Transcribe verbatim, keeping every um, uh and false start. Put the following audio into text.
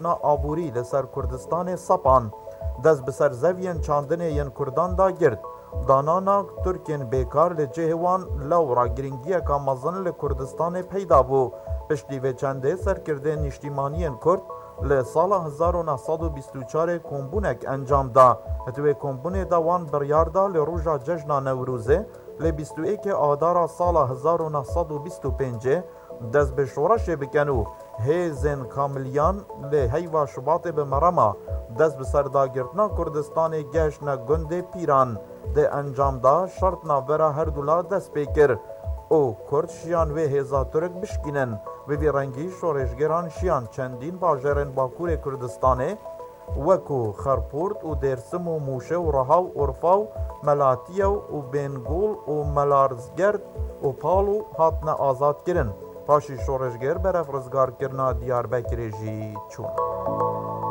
na aborî li ser Kurdistanê sepan. Dest bi ser zeviyên çandinê yên Kurdan da girt. Danana Tirkên bêkar li cihê wan lewra girîngiyeka mezin li Kurdistanê peyda bû. Piştî vê çendê serkirdên nîştîmaniyên Kurd li sala hezar û neh sed û bîst û çarê kombûnek encam da. Di wê kombûnê de wan biryar da li roja cejna Newrozê, li bîst û êkê Adara sala hezar û neh sed û bîst û pêncê dest bi şoreşê bikin û hêzên Kamiliyan li heyva Şubatê bi merema dest bi ser dagirtina Kurdistanê gehiştine gundê Pîran. Di encam de şert navbera her du la dest pê kir û Kurd şiyan wê hêza Tirk bişkînin. Bi vî rengî şoreşgeran şiyan çendîn bajarên Bakurê Kurdistanê, wekû Xerpûrt û Dêrsim û Mûşe û Reha û Urfa û Melatiye û Bêngol û Melarzgerd û Palo hatine azadkirin. Paşî şoreşger berev rizgarkirina Diyarbekirê jî çûn.